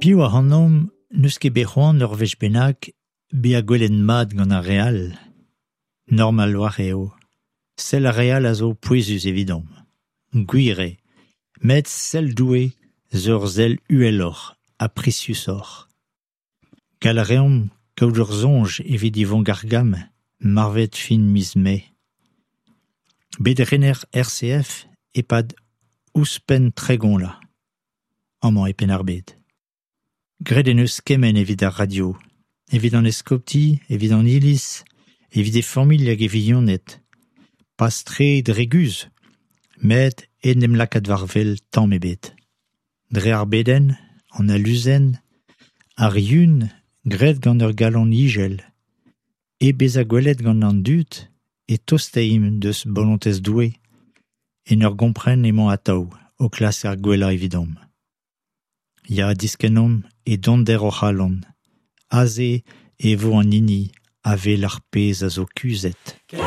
Piv ac'hanomp n'eus ket bet c'hoant ur wech bennak bezañ gwelet mat gant ar re all ? Normal a-walc'h eo, sell ar re all a zo pouezus evidomp, gwir eo, met sell Doue zo ur sell uheloc'h ha priziusoc'h. Gallout a reomp kaout ur soñj evit Yvon Gargam, marvet fin miz Mae. Bet rener RCF e-pad ouzhpenn 30 vloaz, amañ e Penn-ar-Bed. Graet en deus kement evit ar radio, evit an eskopti, evit an Iliz, evit e familh hag e vignoned. Pas tre dre guzh, met hep en em lakaat war-wel tamm ebet. Dre ar bedenn, an aluzen, ar yun graet gant ur galon izel, hep bezañ gwelet gant an dud e tostaimp deus bolontez Doue en ur gompren emañ atav o klask ar gwellañ evidomp. Ya, diskennomp e donder hor c'halon, aze e vo an hini a wel ar pezh a zo kuzhet.